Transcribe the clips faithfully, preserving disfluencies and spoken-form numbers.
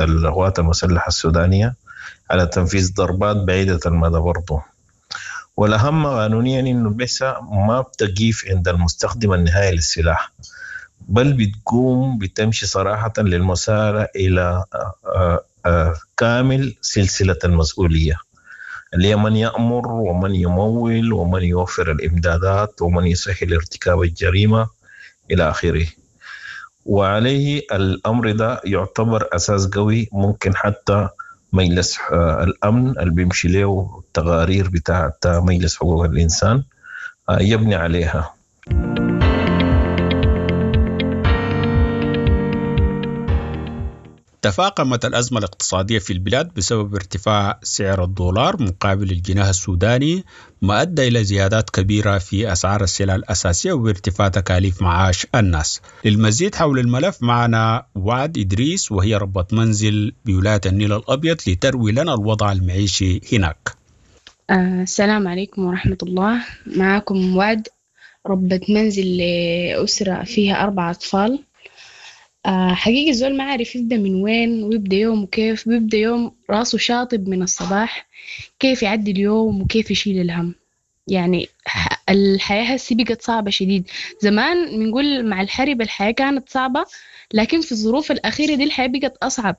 القوات المسلحة السودانية على تنفيذ ضربات بعيدة المدى برضو. والأهم قانونيا إنه البعثة ما بتقيف عند المستخدم النهائي للسلاح، بل بتقوم بتمشي صراحة للمسارة إلى، آه، آه، كامل سلسلة المسؤولية، اللي هي من يأمر ومن يمول ومن يوفر الإمدادات ومن يسهل ارتكاب الجريمة إلى آخره. وعليه الأمر ده يعتبر أساس قوي ممكن حتى مجلس، آه، الأمن اللي بيمشي له التقارير بتاعت مجلس حقوق الإنسان، آه، يبني عليها. تفاقمت الأزمة الاقتصادية في البلاد بسبب ارتفاع سعر الدولار مقابل الجنيه السوداني، ما أدى إلى زيادات كبيرة في أسعار السلع الأساسية وارتفاع تكاليف معاش الناس. للمزيد حول الملف معنا وعد إدريس، وهي ربة منزل بولاية النيل الأبيض، لتروي لنا الوضع المعيشي هناك. آه، السلام عليكم ورحمة الله. معكم وعد، ربة منزل لأسرة فيها أربع أطفال. آه، حقيقي الزول ما عارف يبدأ من وين ويبدأ يوم وكيف بيبدأ يوم، راسه شاطب من الصباح، كيف يعدي اليوم وكيف يشيل الهم. يعني ح-، الحياة هسي بقت صعبة شديد. زمان بنقول مع الحرب الحياة كانت صعبة، لكن في الظروف الأخيرة دي الحياة بقت أصعب،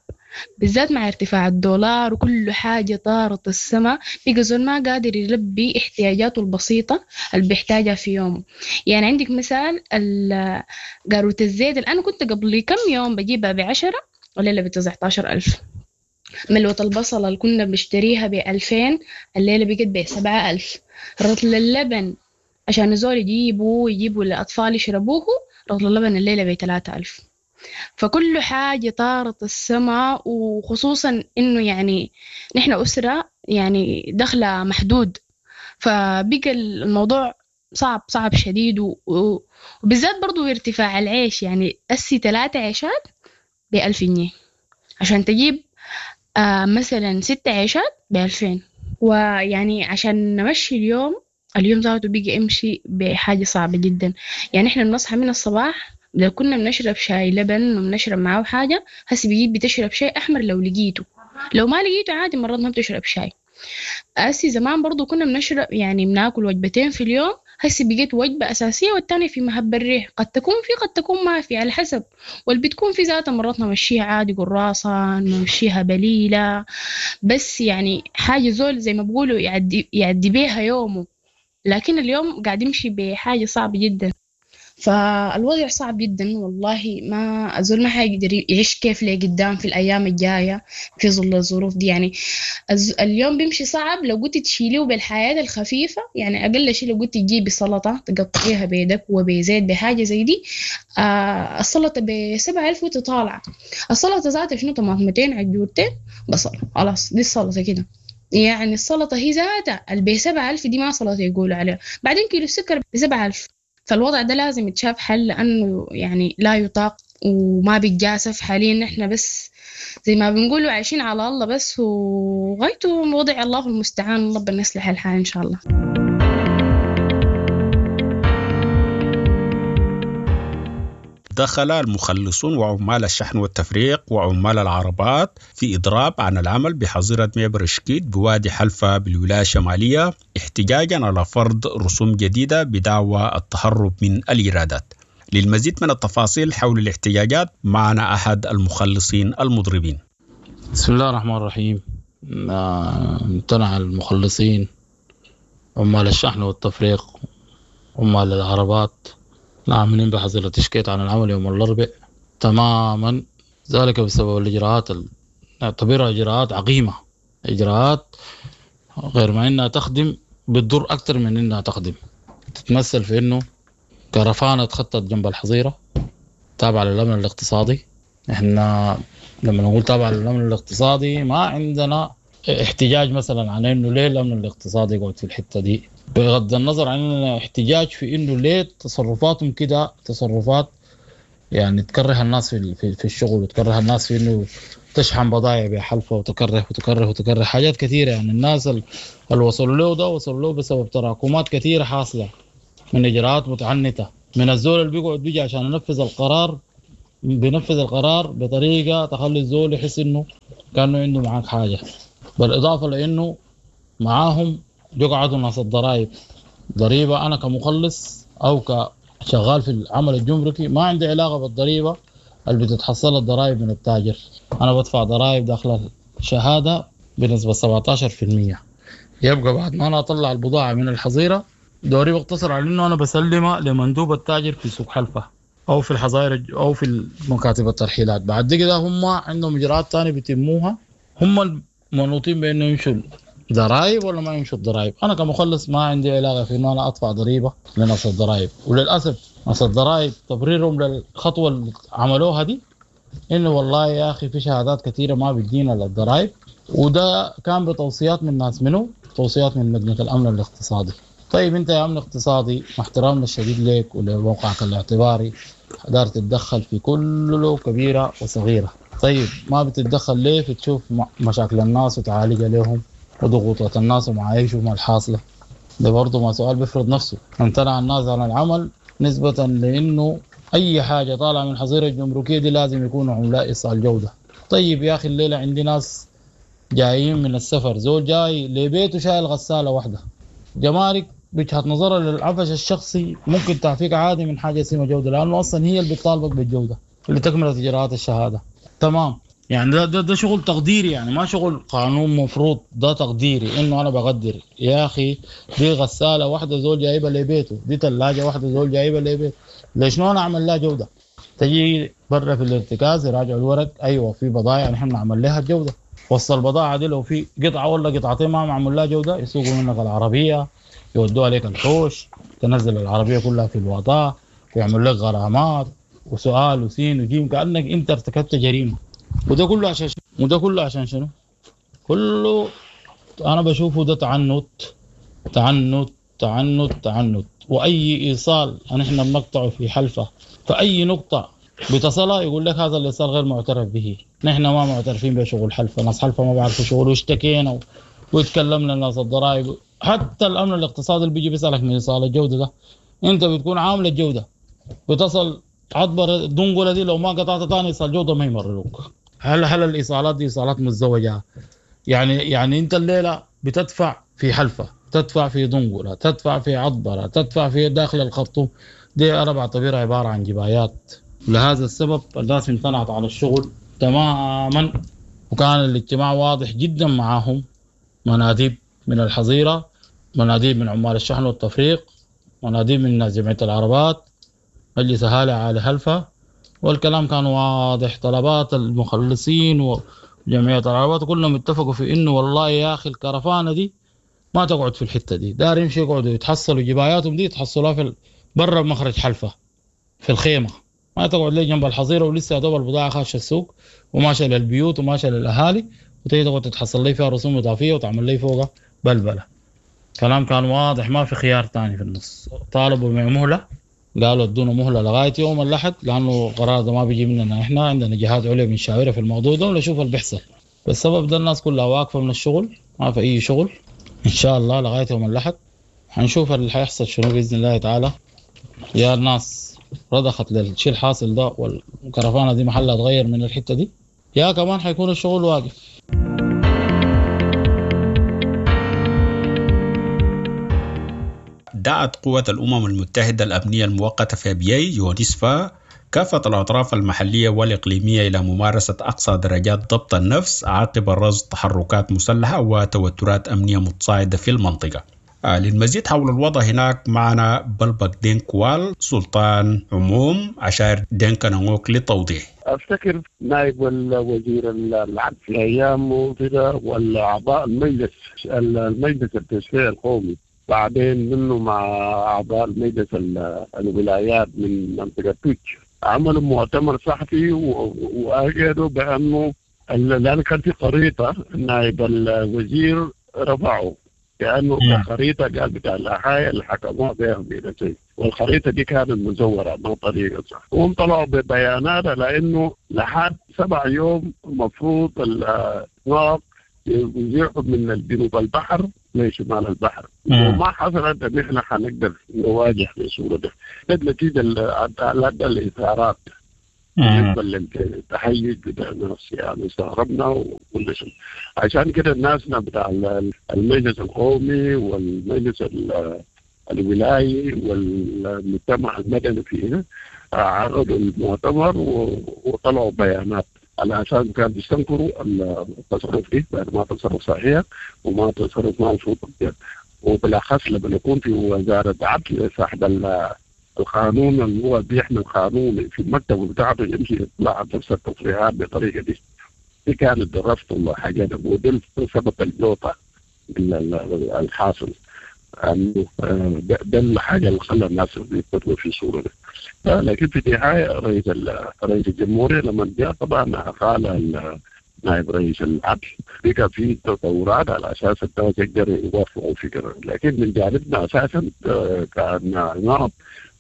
بالذات مع ارتفاع الدولار وكل حاجة طارت السما. بقى زول ما قادر يلبي احتياجاته البسيطة اللي بيحتاجها في يومه. يعني عندك مثال ال-، قاروة الزيت اللي أنا كنت قبل كم يوم بجيبها بعشرة والليلة بتسعتاشر ألف. ملوة البصلة اللي كنا بنشتريها بألفين الليلة بقت بسبعة ألف. رطل اللبن عشان الزول يجيبه ويجيبوا للأطفال يشربوه، رطل اللبن الليلة بتلاتة ألف. فكل حاجة طارت السما، وخصوصا إنه يعني نحن أسرة يعني دخلها محدود، فبقى الموضوع صعب، صعب شديد. و-، و-، وبالذات برضو ارتفاع العيش، يعني أسي تلاتة عيشات بألف جنيه عشان تجيب، آه، مثلا ست عيشات بألفين. ويعني عشان نمشي اليوم، اليوم ذاته بيجي يمشي بحاجة صعبة جدا. يعني إحنا بنصحى من الصباح، لو كنا بنشرب شاي لبن وبنشرب معاه حاجة، هسي بيجيب بتشرب شاي أحمر لو لقيته، لو ما لقيته عادي مرات ما بتشرب شاي. هسي زمان برضو كنا بنشرب يعني بناكل وجبتين في اليوم، هسي بقيت وجبة أساسية والتانية في مهب الريح، قد تكون في قد تكون ما في على حسب. واللي بتكون في ذاتها مرات نمشيها عادي قراصة، نمشيها بليلة، بس يعني حاجة زول زي ما بيقولوا يعدي، يعدي بيها يومه. لكن اليوم قاعد يمشي بحاجة صعبة جدا، فالوضع صعب جدا والله. ما الزول ما حيقدر يعيش كيف ليه قدام في الأيام الجاية في ظل الظروف دي. يعني الز-، اليوم بيمشي صعب لو قلت تشيليه بالحياة الخفيفة، يعني أقل شيء لو قلت تجيبي سلطة تقطعيها بيدك وبزيت بحاجة زي دي، آه، السلطة بسبعة ألف وتطالع. السلطة ذاتها شنو؟ طماطمتين عجورتين بصل، خلاص دي السلطة كده. يعني السلطة هي ذاتها اللي بسبعة ألف دي ما سلطة يقولوا عليها. بعدين كيلو السكر بسبعة ألف. فالوضع ده لازم يتشاف حل، لأنه يعني لا يطاق وما بيتجاسف حاليا. نحن بس زي ما بنقولوا عايشين على الله بس، وغايته وضع الله المستعان، ربنا يصلح الحال إن شاء الله. دخل المخلصون وعمال الشحن والتفريق وعمال العربات في إضراب عن العمل بحظيرة معبر إشكيت بوادي حلفا بالولاية الشمالية احتجاجا على فرض رسوم جديدة بدعوى التهرب من الإيرادات. للمزيد من التفاصيل حول الاحتجاجات معنا أحد المخلصين المضربين. بسم الله الرحمن الرحيم. آه، امتنع المخلصين عمال الشحن والتفريق عمال العربات العاملين بحظيرة إشكيت عن العمل يوم الأربعاء تماما، ذلك بسبب الإجراءات ال-، نعتبرها إجراءات عقيمة، إجراءات غير ما إنها تخدم بتضر أكثر من إنها تخدم. تتمثل في إنه كرفانة تخطط جنب الحظيرة تابعة للأمن الاقتصادي. إحنا لما نقول تابعة للأمن الاقتصادي ما عندنا احتجاج مثلا عن إنه ليه الأمن الاقتصادي يقعد في الحتة دي، بغض النظر عن إنه احتجاج في إنه ليه تصرفاتهم كده، تصرفات يعني تكره الناس في ال-، في، في الشغل، وتكره الناس في إنه تشحن بضائع بحلفة، وتكره وتكره وتكره حاجات كثيرة. يعني الناس ال-، اللي وصلوا له ده وصلوا له بسبب تراكمات كثيرة حاصلة من إجراءات متعنتة من الزول اللي بيقعد بيجي عشان ينفذ القرار. بينفذ القرار بطريقة تخلي الزول يحس إنه كأنه عنده معاك حاجة. بالإضافة لإنه معاهم يقعدوا ناس الضرائب. ضريبة أنا كمخلص أو كشغال في العمل الجمركي ما عندي علاقة بالضريبة اللي بتتحصل الضرائب من التاجر. أنا بدفع ضرائب داخل الشهادة بنسبة سبعتاشر في المية. يبقى بعد ما أنا أطلع البضاعة من الحظيرة دوري بقتصر على إنه أنا بسلمها لمندوب التاجر في سوق حلفة أو في الحظائر أو في مكاتب الترحيلات. بعد كده هم عندهم إجراءات تانية بيتموها، هم المنوطين بإنه يمشوا ضرائب ولا ما يمشوا الضرائب. أنا كمخلص ما عندي علاقة في إنه أنا أدفع ضريبة لنص الضرائب. وللأسف نص الضرائب تبريرهم للخطوة اللي عملوها دي إنه والله يا أخي في شهادات كثيرة ما بتجينا للضرائب، وده كان بتوصيات من ناس منه، توصيات من لجنة الأمن الاقتصادي. طيب أنت يا أمن اقتصادي مع احترامنا الشديد لك ولموقعك الاعتباري قدرت تتدخل في كل كبيرة وصغيرة، طيب ما بتتدخل ليه في تشوف مشاكل الناس وتعالجها لهم وضغوطات الناس ومعايشهم الحاصلة؟ ده برضه ما سؤال بيفرض نفسه. امتنع الناس عن العمل نسبة لأنه أي حاجة طالعة من الحظيرة الجمركية دي لازم يكونوا عملاء إيصال جودة. طيب يا أخي الليلة عندي ناس جايين من السفر، زول جاي لبيته شايل غسالة واحدة، جمارك بوجهة نظرها للعفش الشخصي ممكن تعفيك عادي من حاجة اسمها جودة، لأنه أصلا هي اللي بتطالبك بالجودة اللي تكملت إجراءات الشهادة. تمام، يعني ده, ده ده شغل تقديري، يعني ما شغل قانون مفروض، ده تقديري انه انا بقدر يا اخي دي غسالة واحدة زول جايبها لبيته، دي ثلاجه واحدة زول جايبها لبيته، ليش انا اعمل لها جوده؟ تجي برا في الارتكاز يراجعوا الورق، ايوه في بضائع نحن نعمل لها الجودة، وسط البضاعة دي لو في قطعه ولا قطعتين ما معمول لها جوده يسوقوا منك العربية، يودوها لك الحوش، تنزل العربية كلها في الوطاء، ويعمل لك غرامات وسؤال وسين وجيم كانك انت ارتكبت جريمة. وده كله عشان شنو؟ وده كله عشان شنو؟ كله انا بشوفه ده تعنت تعنت تعنت تعنت. واي ايصال نحن بنقطعه في حلفه فاي نقطة بتصلها يقول لك هذا الايصال غير معترف به، نحن ما معترفين بشغل حلفه، ناس حلفه ما بيعرفوا شغل، واشتكينا وتكلمنا الناس الضرائب، حتى الامن الاقتصادي اللي بيجي بيسالك من ايصال الجودة ده انت بتكون عامل الجودة، بتصل عبر الدنقله دي لو ما قطعت ثاني ايصال جوده ما يمرروك. هل هل الايصالات دي ايصالات مزدوجة؟ يعني يعني انت الليلة بتدفع في حلفه، تدفع في دنقله، تدفع في عطبره، تدفع في داخل الخرطوم، دي انا بعتبرها عبارة عن جبايات. لهذا السبب الناس امتنعت على الشغل تماما، وكان الاجتماع واضح جدا معاهم، مناديب من الحظيرة، مناديب من عمال الشحن والتفريق، مناديب من جمعية العربات، مجلس اهالي على حلفه، والكلام كان واضح. طلبات المخلصين وجمعية العربات كلهم اتفقوا في انه والله يا اخي الكرفانه دي ما تقعد في الحتة دي، دار يمشي يقعدوا يتحصلوا جباياتهم دي يتحصلوها في برا مخرج حلفه في الخيمة، ما تقعد لي جنب الحظيرة ولسه يا دوب البضاعة خاشه السوق وماشية للبيوت وماشية للاهالي، وتيجي تقعد تتحصل لي فيها رسوم اضافية وتعمل لي فوقها بلبلة. كلام كان واضح، ما في خيار ثاني في النص. طالبوا بمهله، قالوا ادونا مهله لغاية يوم الاحد، لانه القرار ده ما بيجي مننا احنا، عندنا جهات عليا بنشاورها في الموضوع ده ونشوف اللي بيحصل. بالسبب ده الناس كلها واقفة من الشغل، ما في اي شغل ان شاء الله لغاية يوم الاحد. حنشوف اللي حيحصل شنو باذن الله تعالى. يا الناس رضخت للشيء الحاصل ده والكرفانه دي محلها اتغير من الحتة دي، يا كمان حيكون الشغل واقف. دعت قوة الأمم المتحدة الأمنية المؤقتة في أبيي يونسفا كافة الأطراف المحلية والإقليمية إلى ممارسة أقصى درجات ضبط النفس عقب رصد تحركات مسلحة وتوترات أمنية متصاعدة في المنطقة. للمزيد حول الوضع هناك معنا بلبك دينكوال سلطان عموم عشائر دينكا للتوضيح. افتكر نائب الوزير العدل في ايام وكده والاعضاء المجلس المجلس التشريعي القومي، بعدين منه مع اعضاء المجلس الولايات من منطقة توتش، عملوا مؤتمر صحفي واكدوا بانه لان كان في خريطة نائب الوزير رفعه لانه الخريطة قال بتاع الاحياء اللي حكموها بها بنفسهم، والخريطه دي كانت مزوره ما طريقه صح. وهم طلعوا ببيانات لانه لحد سبع يوم المفروض النار يزيحوا من جنوب البحر لشمال البحر، وما حصلت ان احنا حنقدر نواجه بالصورة دي. ده نتيجة الاثارات بالنسبة للتهيج بتاع الناس يعني استغربنا وكل شيء. عشان كده الناس بتاع المجلس القومي والمجلس الولايي والمجتمع المدني فيه عرضوا المؤتمر وطلعوا بيانات على اساس كان بيستنكروا التصرف دي، بعد ما تصرف صحيح وما تصرف ما المفروض، وبالاخص لما يكون في وزارة عدل صاحب القانون اللي هو بيحمي القانون في المكتب بتاعته يمشي يطلع نفس التصريحات بالطريقة دي. دي كانت الرفض والحاجات وده سبب الجوطه الحاصل. ده, ده الحاجة اللي خلى الناس يدخلوا في الصورة دي. لكن في النهاية رئيس رئيس الجمهورية لما جاء طبعا قال نائب رئيس العدل بقى في تطورات على اساس الناس يقدروا يوافقوا فكرة، لكن من جانبنا اساسا كان نعم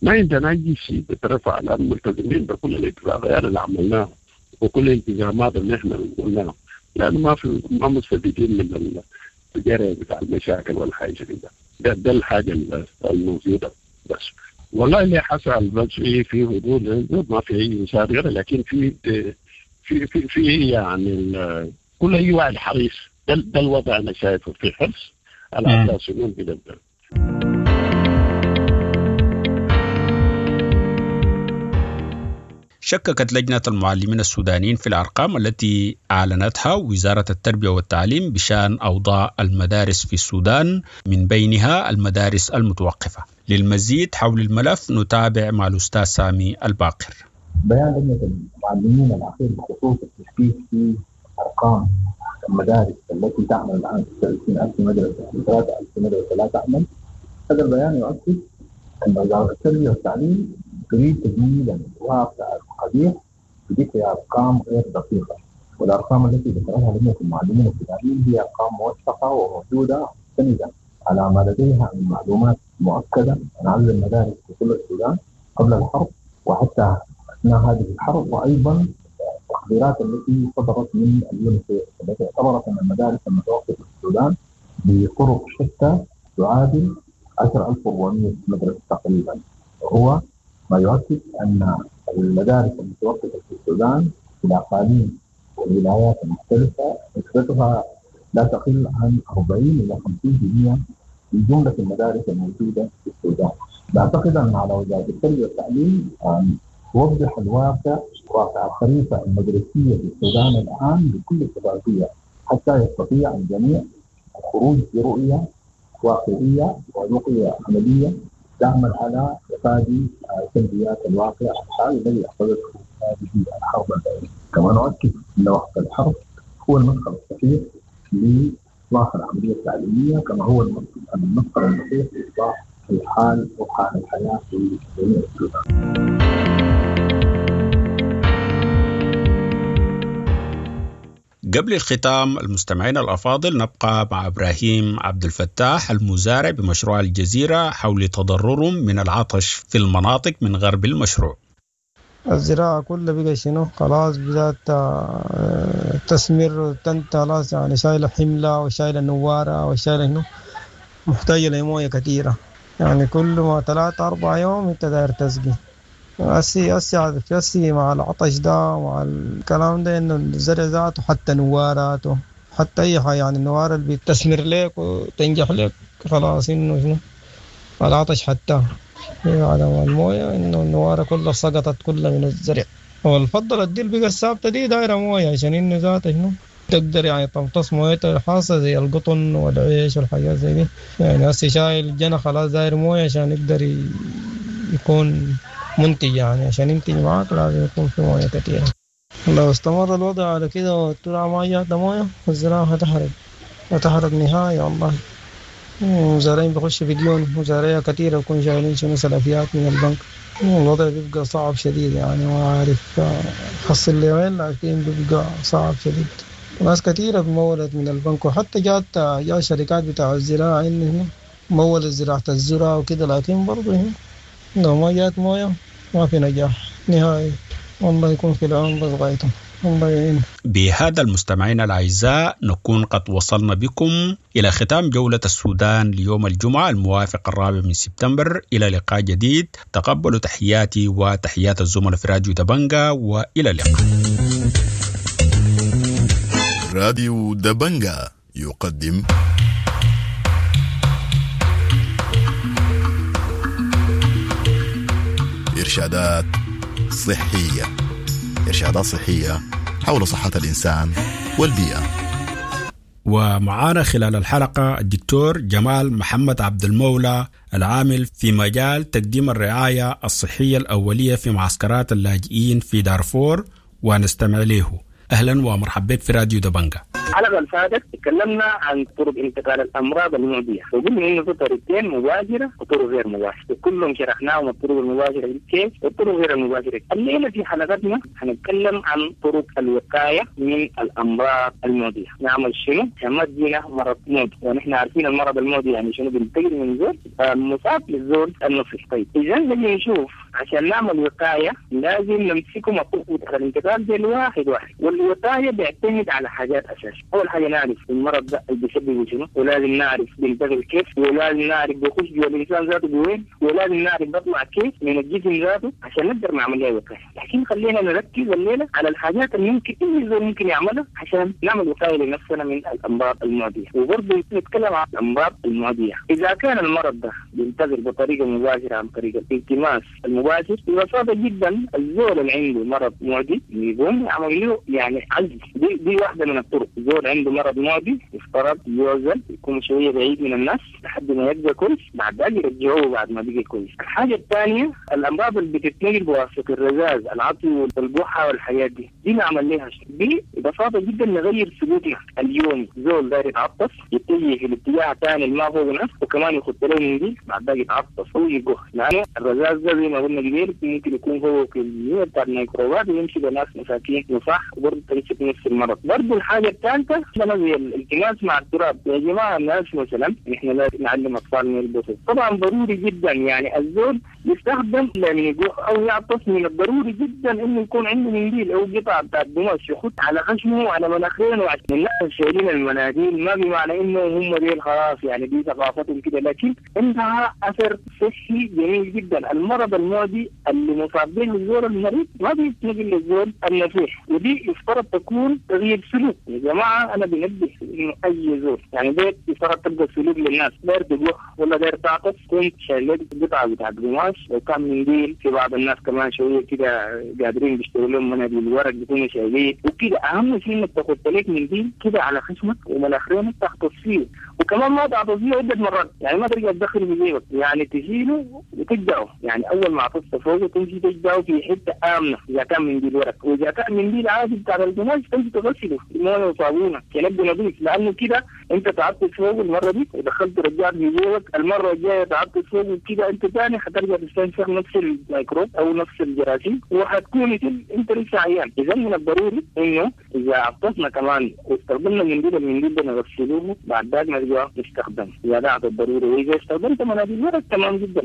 ما عندنا اي شيء بترفع لان ملتزمين بكل الاتفاقيات اللي عملناها وكل الالتزامات اللي احنا قلناها، لانه ما في ما مستفيدين من الجري بتاع المشاكل والحاجة دي. ده, ده الحاجة الموجودة بس. والله اللي حصل بس في في هدوء ما في اي مشاكل، لكن في في في في يعني كل اي واحد حريص. ده, ده الوضع انا شايفه في حرص على اساس انه كده. شككت لجنة المعلمين السودانيين في الأرقام التي أعلنتها وزارة التربية والتعليم بشأن أوضاع المدارس في السودان، من بينها المدارس المتوقفة. للمزيد حول الملف نتابع مع الأستاذ سامي الباقر. بيان لجنة المعلمين الأخير بخصوص التشكيك في أرقام المدارس التي تعمل الآن ستة وعشرين ألف مدرسة وثلاثة ألف مدرسة لا تعمل، هذا البيان يؤكد أن وزارة التربية والتعليم تريد تجميل الواقع القبيح بذكر أرقام غير دقيقة، والأرقام التي ذكرها لجنة المعلمين السودانيين هي أرقام موثقة وموجودة مستندة على ما لديها من معلومات مؤكدة عن عدد المدارس في كل السودان قبل الحرب وحتى أثناء هذه الحرب، وأيضا التقديرات التي صدرت من اليونيسيف التي اعتبرت أن المدارس المتوقفة في السودان بطرق شتى تعادل عشرة آلاف وأربعمئة مدرسة تقريبا، وهو ما يؤكد أن المدارس المتوقفة في السودان في الأقاليم والولايات المختلفة نسبتها لا تقل عن أربعين إلى خمسين بالمئة من جملة المدارس الموجودة في السودان. أعتقد أن على وزارة التربية والتعليم أن توضح الواقع واقع الخريطة المدرسية في السودان الآن بكل شفافية حتى يستطيع الجميع الخروج برؤية واقعية ورؤية عملية تعمل على تفادي سلبيات الواقع الحالي الذي أخذته هذه الحرب البائسة. كما نؤكد أن وقت الحرب هو المدخل الصحيح لإصلاح العملية التعليمية، كما هو المدخل الصحيح لإصلاح الحال وحال الحياة في جميع السودان. قبل الختام المستمعين الأفاضل نبقى مع إبراهيم عبد الفتاح المزارع بمشروع الجزيرة حول تضررهم من العطش في المناطق من غرب المشروع. الزراعة كلها بقى شنو خلاص بدأت تسمر وتنت خلاص، يعني شايلة حملة وشايلة نوارة وشايلة شنو محتاجة لموية كثيرة، يعني كل ما ثلاثة أربعة يوم أنت داير تسقي. أسي أسي أسي مع العطش ده ومع الكلام ده إنه الزرع ذاته حتى نواراته حتى أي حاجة، يعني النوارة اللي بتثمر لك وتنجح لك خلاص إنه شنو العطش حتى على الموية إنه النوارة كلها سقطت كلها من الزرع. والفضل دي اللي بقى الثابتة دي دايرة موية عشان إنه ذاته شنو تقدر يعني تمتص مويتها الخاصة زي القطن والعيش والحاجات زي دي. يعني هسي شايل جنى خلاص داير موية عشان يقدر يكون منتج، يعني عشان ينتج معاك لازم يكون في موية كثيرة. لو استمر الوضع على كده والترعة ما جات موية الزراعة هتحرق هتحرق نهائي والله. مزارعين بيخشوا في ديون، مزارعية كثيرة بيكون شايلين شنو سلفيات من البنك. الوضع بيبقى صعب شديد، يعني ما عارف حصل لي وين، لكن بيبقى صعب شديد. ناس كثيرة مولت من البنك، وحتى جات جات شركات بتاع الزراعة إنه مولت زراعة الذرة وكده، لكن برضه لو ما جات موية ما في نجاح نهائي. والله يكون في العون بس غايته. الله يعين. بهذا المستمعين الأعزاء نكون قد وصلنا بكم إلى ختام جولة السودان ليوم الجمعة الموافق الرابع من سبتمبر. إلى لقاء جديد، تقبلوا تحياتي وتحيات الزملاء في راديو دبنجا، وإلى اللقاء. راديو دبنجا يقدم إرشادات صحية، إرشادات صحية حول صحة الإنسان والبيئة. ومعانا خلال الحلقة الدكتور جمال محمد عبد المولى العامل في مجال تقديم الرعاية الصحية الأولية في معسكرات اللاجئين في دارفور، ونستمع له. أهلا ومرحبا بك في راديو دبنجا. الحلقة اللي فاتت تكلمنا عن طرق انتقال الأمراض المعدية، وقلنا إنه في طريقتين، مباشرة وطرق غير مباشرة، وكلهم شرحناهم، الطرق المباشرة كيف والطرق غير المباشرة. الليلة في حلقتنا هنتكلم عن طرق الوقاية من الأمراض المعدية. نعمل شنو عشان ما تجينا مرض معدي، ونحن عارفين المرض المعدي يعني شنو، بينتقل من زول المصاب للزول النصيح. طيب إذا نجي نشوف عشان نعمل وقاية لازم نمسكهم الطرق الانتقال دي واحد واحد، والوقاية بيعتمد على حاجات أساسية. أول حاجة نعرف المرض ده اللي بيسببه شنو، ولازم نعرف بينتقل كيف، ولازم نعرف بيخش جوا الإنسان ذاته بوين، ولازم نعرف بيطلع كيف من الجسم ذاته عشان نقدر نعمل لها وقاية. لكن خلينا نركز الليلة على الحاجات اللي ممكن أي زول ممكن يعملها عشان نعمل وقاية لنفسنا من الأمراض المعدية. وبرضه نتكلم عن الأمراض المعدية. إذا كان المرض ده بينتقل بطريقة مباشرة عن طريق الالتماس المباشر، ببساطة جدا الزول اللي عنده مرض معدي يقوم يعمل له يعني عزل. دي, دي واحدة من الطرق. زول عنده مرض معدي يفترض يعزل، يكون شوية بعيد من الناس لحد ما يبقى كويس، بعد ذلك يرجعوه بعد ما بقى كويس. الحاجة الثانية الأمراض اللي بتتنقل بواسطة الرذاذ، العطي والبحة والحاجات دي، دي نعمل لها شيء. دي ببساطة جدا نغير سلوكنا اليومي. زول داير يتعطس يتجه في الاتجاه الثاني اللي ما فوق نفسه، وكمان يخط له منديل بعد ذلك يتعطس ويقح، لأنه الرذاذ ده زي ما قلنا قبل ممكن يكون هو كمية بتاع الميكروبات ويمشي بناس مساكين وصح، وبرضه تمسك نفس المرض. برضه الحاجة الثالثة زي الالتماس مع التراب. يا جماعة الناس مثلا نحن لازم نعلم أطفالنا يلبسوا، طبعا ضروري جدا يعني الزول يستخدم لما يقح أو يعطس، من الضروري جدا إنه يكون عنده منديل أو قطعة بتاعت قماش يخط على خشمه وعلى مناخيره. وعشان الناس شايلين المناديل ما بمعنى إنه هم ديل خلاص يعني دي ثقافتهم كده، لكن عندها أثر صحي جميل جدا. المرض المعدي اللي مصاب به الزول المريض ما بيتنقل للزول النصيح، ودي يفترض تكون تغيير سلوك. يا جماعة أنا بنبه إنه أي زول يعني بيت يفترض تبقى سلوك للناس، داير تجوح ولا داير تعطس كنت شايل لك قطعة بتاعت قماش، لو كان منديل. في بعض الناس كمان شوية كده قادرين بيشتروا لهم مناديل ورق بيكونوا شايلين وكده. أهم شيء إنك تاخد لك منديل كده على خشمك ومناخيرك تغطس فيه، وكمان ما تعطس فيه عدة مرات، يعني ما ترجع تدخله في جيبك، يعني تشيله وتجدعه، يعني أول ما عطست فوقه تمشي تجدعه في حتة آمنة إذا كان منديل ورق، وإذا كان منديل عادي بتاع القماش تمشي تغسله بمويه وصابونه عشان نظيف، لأنه كده أنت تعطس فوقه المرة دي ودخلت رجعت في جيبك، المرة الجاية تعطس فوقه كده أنت ثاني حترجع تستنشق نفس الميكروب أو نفس الجراثيم وحتكون أنت لسه عيان. إذا من الضروري إنه إذا عطسنا كمان واستخدمنا المنديل، المنديل ده نغسلوه بعد ذلك نرجع نستخدمه إذا دعت الضرورة، وإذا استخدمت مناديل ورق تمام جدا.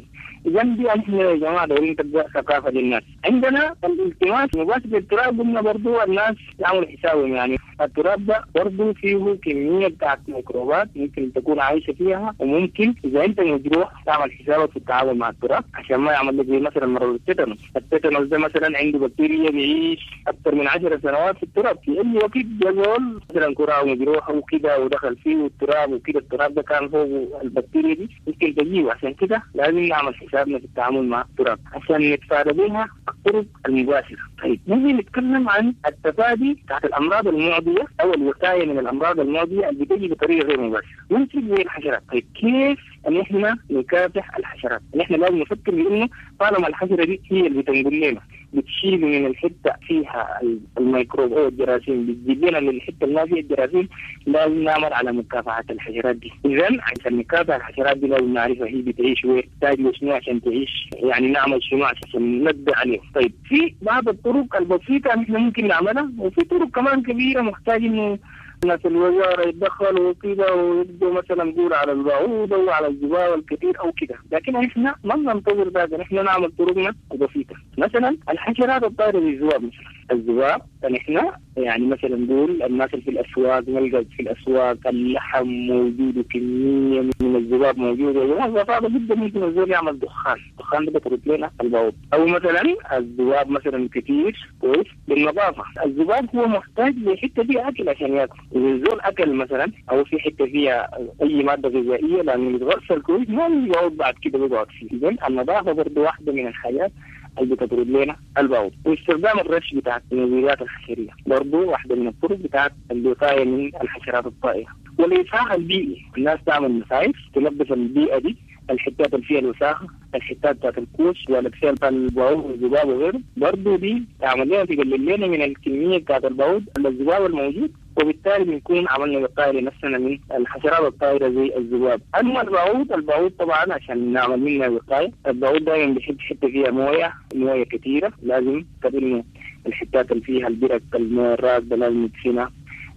إذا دي احنا يا جماعة دايرين تبقى ثقافة للناس. عندنا الالتماس مباشر للتراب، قلنا برضو الناس يعملوا حسابهم، يعني التراب ده برضو فيه كمية بتاعت ميكروبات ممكن تكون عايشة فيها، وممكن إذا أنت مجروح تعمل حسابك في التعامل مع التراب عشان ما يعمل لك زي مثلا مرض التيتانوس. التيتانوس ده مثلا عنده بكتيريا بيعيش أكثر من عشر سنوات في التراب، في أي وقت جزول مثلا كرة مجروحة وكده ودخل فيه التراب وكده، التراب ده كان فوق البكتيريا دي ممكن تجيه. عشان كده لازم نعمل حسابنا في التعامل مع التراب عشان نتفادى بها الطرق المباشرة. طيب نجي نتكلم عن التفادي بتاعت الأمراض المعدية أو الوقاية من الأمراض المعدية اللي بتجي بطريقة غير مباشرة، ممكن زي الحشرات. طيب كيف ان احنا نكافح الحشرات؟ ان احنا لازم نفكر بانه طالما الحشرة دي هي اللي بتنقل لنا، بتشيل من الحتة فيها الميكروب او الجراثيم، بتجيب لنا من الحتة اللي ما فيها الجراثيم، لازم نعمل على مكافحة الحشرات دي. اذا عشان نكافح الحشرات دي لازم نعرفها هي بتعيش وين، تحتاج شنو عشان تعيش، يعني نعمل شنو عشان نقضي عليها. طيب في بعض الطرق البسيطة احنا ممكن نعملها، وفي طرق كمان كبيرة محتاج انه الناس الوزارة يتدخلوا وكده ويبدوا مثلا نقول على البعوضة وعلى الجبال الكثير أو كده، لكن احنا ما بننتظر ذاك، نحن نعمل طرقنا البسيطة. مثلا الحشرات الطائرة بالذباب مثلا، الذباب نحن يعني مثلا نقول الناس اللي في الاسواق، نلقى في الاسواق اللحم موجود وكمية من الذباب موجودة، وبساطة جدا ممكن الزول يعمل دخان، الدخان ده بيطرد لنا البعوض. او مثلا الذباب مثلا كتير كويس بالنظافة، الذباب هو محتاج لحته فيها اكل عشان ياكل، اذا الزول اكل مثلا او في حتة فيها اي مادة غذائية لانه يتغسل كويس ما بيقعد بعد كده بيقعد فيه. اذا النظافة برضه واحدة من الحاجات اللي بتطرد لنا البعوض. واستخدام الرش بتاعت المبيدات الحشريه برضه واحدة من الطرق بتاعت الوقاية من الحشرات الطائرة. والإسعاف البيئي، الناس تعمل مسايف تنظف البيئة دي، الحتات اللي فيها الوساخه، الحتات بتاعت الكوش ولا فيها البعوض والذباب وغيره، برضه دي تعمل لنا تقلل لنا من الكمية بتاعت البعوض الذباب الموجود، وبالتالي بنكون عملنا وقاية لنفسنا من الحشرات الطائرة زي الذباب. اما البعوض، البعوض طبعا عشان نعمل منها وقاية، البعوض دائما بيحب حتة فيها مويه، مويه كثيرة، لازم انه الحتات اللي فيها البرك المويه الراكده لازم ندفنها.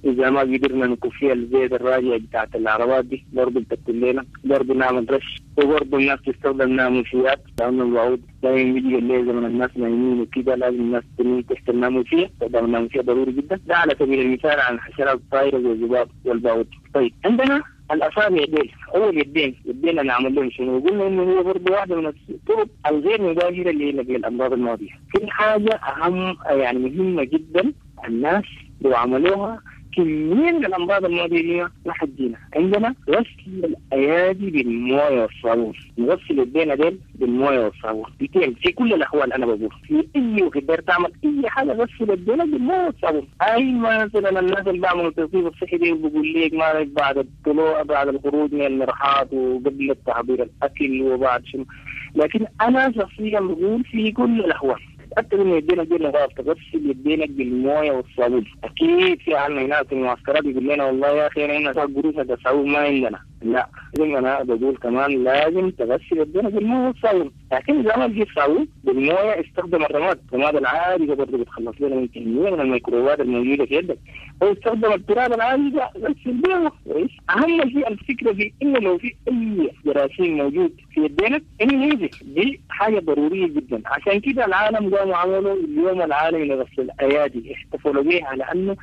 اذا ما قدرنا نكون فيها الزيت الراجع بتاعت العربات دي برضه بتقتل لنا، برضه نعمل رش. وبرضه الناس تستخدم ناموسيات، لانه البعوض دائما بيجي الليل زمن الناس نايمين وكده، لازم الناس تنام تحت الناموسيه، استخدام الناموسيه ضروري جدا. ده على سبيل المثال عن الحشرات الطائرة زي الذباب والبعوض. طيب عندنا الاصابع ديل، اول يدين، يدينا نعمل لهم شنو؟ قلنا انه هو برضه واحدة من الطرق الغير مباشرة لنقل الامراض المعدية. في حاجة اهم يعني مهمة جدا الناس لو عملوها كمية من الأمراض المعدية ما حتجينا. عندنا غسل الأيادي بالموية والصابون، نغسل يدينا ديل بالموية والصابون بتين في كل الأحوال. أنا بقول في أي وقت داير تعمل أي حاجة غسل يدينا بالموية والصابون. أي مثلا الناس اللي بيعملوا التنظيف الصحي دي بيقول لك ما بعد الطلوع بعد الخروج من المرحاض وقبل تحضير الأكل وبعد شنو، لكن أنا شخصيا بقول في كل الأحوال تأكد انه يدينا دي نظافة، تغسل يدينك بالمويه والصابون. اكيد في عنا هناك في المعسكرات يقول لنا والله يا اخي احنا قروش الصابون ما عندنا، لا زي انا بقول كمان لازم تغسل يدينك بالمويه والصابون. لكن اذا ما لقيت صابون بالمويه استخدم الرماد، الرماد العادي ده برضه بتخلص لنا من كمية من الميكروبات الموجودة في يدك، او استخدم التراب العادي ده غسل به. اهم شيء الفكرة في انه لو في اي جراثيم موجود في يدينك انه ينزل، دي حاجة ضرورية جدا. عشان كده العالم قاموا عملوا اليوم العالمي لغسل الايادي، احتفلوا بها لانه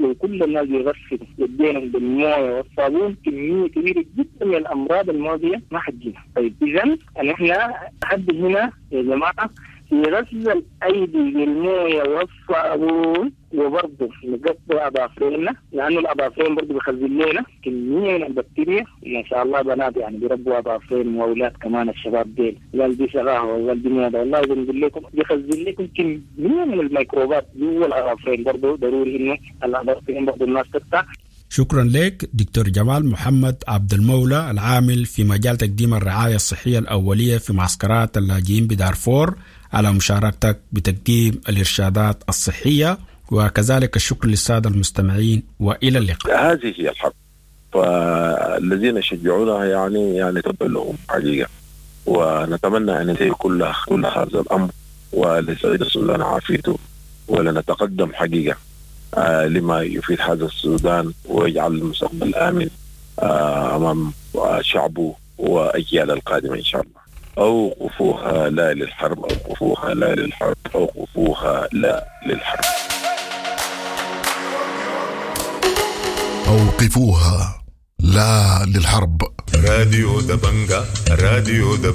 لو كل الناس بيغسلوا يدينهم بالمويه والصابون كمية كبيرة جدا من الامراض المعدية ما حتجينا. طيب اذا نحن لحد هنا يا جماعة في غسل الايدي بالمويه والصابون، وبرضه نقطع اظافرنا لانه الاظافرين برضه بيخزن لنا كمية من البكتيريا. ما شاء الله بنات يعني بيربوا اظافرين واولاد كمان الشباب ديل، قال دي شغاهه وقال دي موضة، والله بنقول لكم بيخزن لكم كمية من الميكروبات جوا الاظافرين. برضه ضروري انه الاظافرين برضه الناس تقطع. شكرا لك دكتور جمال محمد عبد المولى العامل في مجال تقديم الرعاية الصحية الأولية في معسكرات اللاجئين بدارفور على مشاركتك بتقديم الإرشادات الصحية، وكذلك الشكر للسادة المستمعين وإلى اللقاء. هذه هي الحرب، فالذين شجعونها يعني يعني تبا لهم حقيقة، ونتمنى أن ينتهي كل كل هذا الأمر ولسعيد السودان عافيته، ولنتقدم حقيقة آه لما يفيد هذا السودان ويجعل المستقبل آمن آه أمام شعبه وأجيال القادمة إن شاء الله. أوقفوها لا للحرب، أوقفوها لا للحرب، أوقفوها لا للحرب. أوقفوها لا للحرب. راديو دبنجا، راديو دبنجا.